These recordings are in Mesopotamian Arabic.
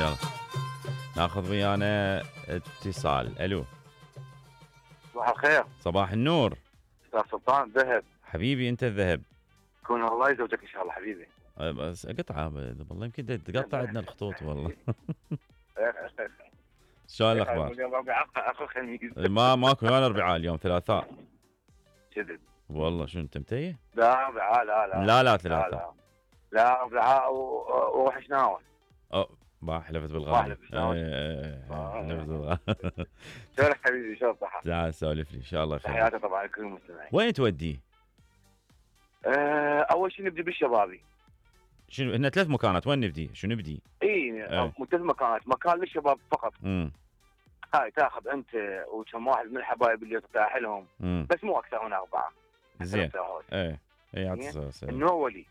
يلا ناخذ ويانا اتصال. الو صباح الخير. صباح النور. استاذ سلطان ذهب. حبيبي انت الذهب. كون الله يزوجك ان شاء الله حبيبي. بس قطعه والله يمكن تقطع عندنا الخطوط والله. شلون الاخبار؟ اليوم اخر خميس. ماكو ولا اربعاء اليوم ثلاثاء. كذب والله شو انت متيه؟ لا اربعاء لا ثلاثاء. لا اربعاء وروح شناول. ما حلفت بالغالي. حلفت بالغالي. شلونك حبيبي شلون صحتك؟ تعال سولف لي ان شاء الله خير. تحياتي طبعا لكل المستمعين. وين توديه؟ اول شيء نبدي بالشبابي. شنو هن 3 مكانات وين نبدي؟ شو نبدي؟ اي 3 مكانات، مكان للشباب فقط. هاي تاخذ انت وكم واحد من الحبايب اللي ترتاح لهم. بس مو اكثر من 4. زين. اي النور ولي.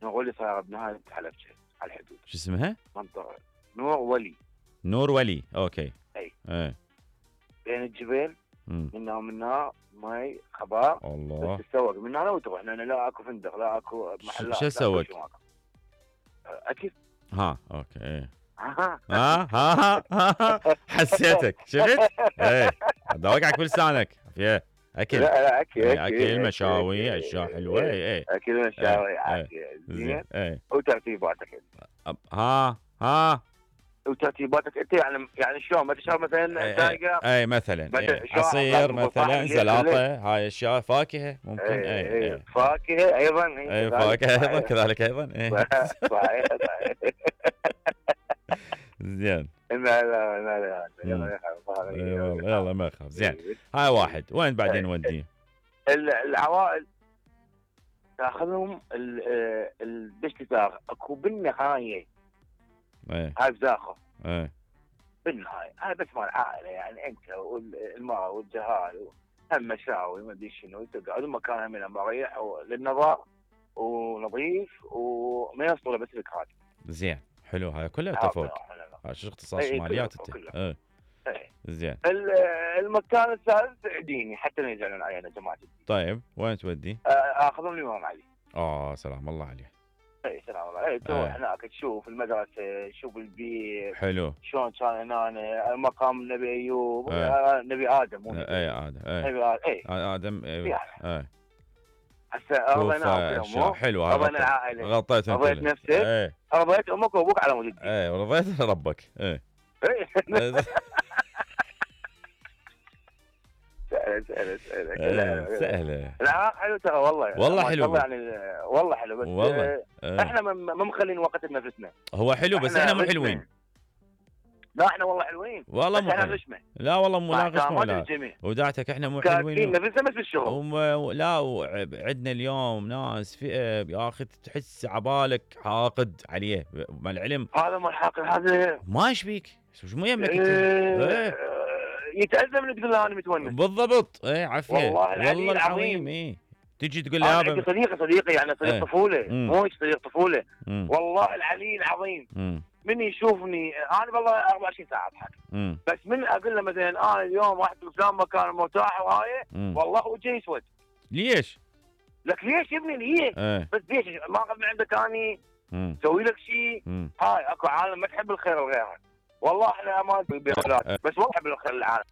نور ولي صايره بنهايه حلبجه على الحدود. شو اسمها؟ منطقه نور ولي. نور ولي اوكي. اي بين الجبال منا ومنا ماي خبار. الله. تتسوق من هنا وتروح لان لا اكو فندق لا اكو محلات. شو تسوق؟ اكيد. اوكي. حسيتك شفت؟ ايه اوقعك بلسانك فيه اكل. لا اكل مشاوي اشياء حلوه. اكل مشاوي زين. وترتيباتك وترتيباتك انت يعني شلون ما تشرب مثلا دايقه. اي مثلا عصير مثلا سلطه هاي اشياء فاكهه ممكن. فاكهه ايضا. فاكهه ايضا كذلك ايضا. صحيح. زين. لا يلا ما يخاف. زين هاي واحد. وين بعدين وديه؟ العوائل تاخذهم الدشتاغ اكو بالنهايه. هاي بزاخه. بالنهايه هاي بس مال عائله يعني انت والماء والجهال هم مشاوي ما ادري شنو تقعد مكان من مريح للنظر ونظيف وما يوصل بس لك هذا. زين حلو هاي كلها تفوق. شو اختصاص ماليات انت؟ زين. المكان الثالث ديني حتى ما يزعلون علينا جماعه الدين. طيب وين تودي؟ اخذهم الامام علي. سلام الله عليه. اي سلام الله. تروح هناك تشوف المدرسه تشوف البيت. حلو. شلون كان هنا مقام النبي ايوب. نبي ادم مو ادم. هسه رضينا حلو رضينا العائله. غطيت انت. رضيت نفسك. رضيت امك وابوك على مود الدين. ورضيت ربك. سهله. لا حلو ترى والله حلو يعني والله حلو بس والله. احنا ما مخلين وقت لنفسنا. هو حلو بس احنا مو حلوين. لا احنا والله حلوين والله مو حلوين. لا والله مو ناقص ولا وداعتك احنا مو حلوين. نفسنا بس بالشغل. لا وعندنا اليوم ناس فئه يا اخي تحس عبالك حاقد عليه مع العلم. هذا مو الحاقد هذا ما ايش مو يمك يتأذى من تقول له انا متونس. بالضبط. عافيه والله العظيم. تجي تقول لي عندي صديقي يعني صديق طفوله مو صديق طفوله. والله العلي العظيم من يشوفني انا والله 24 ساعه اضحك. بس من اقول له مثلا انا اليوم رحت بفلان مكان مرتاح وهاي والله وجهي يسود. ليش؟ لك ليش يا ابني ليش؟ بس ليش ما اخذ من عندك اني سوي لك شيء. هاي اكو عالم ما تحب الخير لغيرها. والله احنا ما بأولاد بس والله احب الخير للعالم.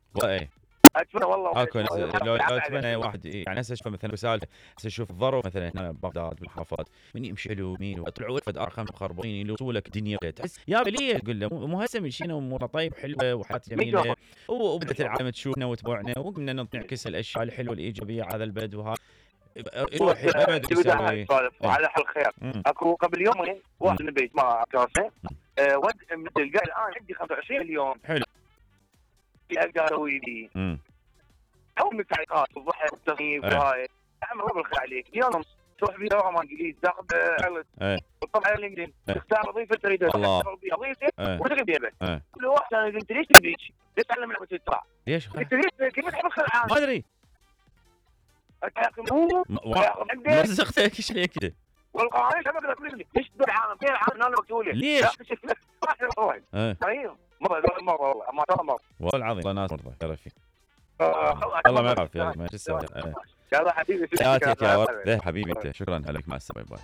اتمنى والله اكو لو اتمنى واحد يعني هسه اشوف مثلا رسالته هسه اشوف الظرف مثلا هنا بغداد بالحافات من يمشي له مين وطلعوا ولد ارخم مخربين يلوسوا لك الدنيا تحس يا ليه تقول له مو هسه مشينا امورنا طيب حلوه وحياه جميله وبدت العالم تشوفنا وتبوعنا وقمنا نعكس الاشياء الحلوه الايجابيه على البلد وهذا روح ابد يسوي على حل خير. اكو قبل يومين واحد من البيت ما كاسه ود مثل قال الان عندي 25 مليون حلو اقدر اسوي لي او من التعليقات الضحك والتغييب وهاي اعمل ربع الخير عليك اليوم تروح بيه دوره انجليزي تاخذ علت وطبعا على الانجليزي تختار وظيفه تريدها تشتغل بيها وظيفه وتقعد بيها كل واحد انا قلت ليش تبيك؟ تتعلم لعبه التراع ليش؟ قلت ليش كيف تحب الخير العام؟ ما ادري ما رزقتك ايش عليك كذا والله ايش اقدر اقول لك ليش العالم كيف العالم انا مقتوله ليش؟ مره والله ما ترى مره والله العظيم الله ناس مرضى يا رفيق الله ما يعرف يا ما تسوي يلا حبيبي يا ورد حبيبي انت شكرا لك مع السلامه باي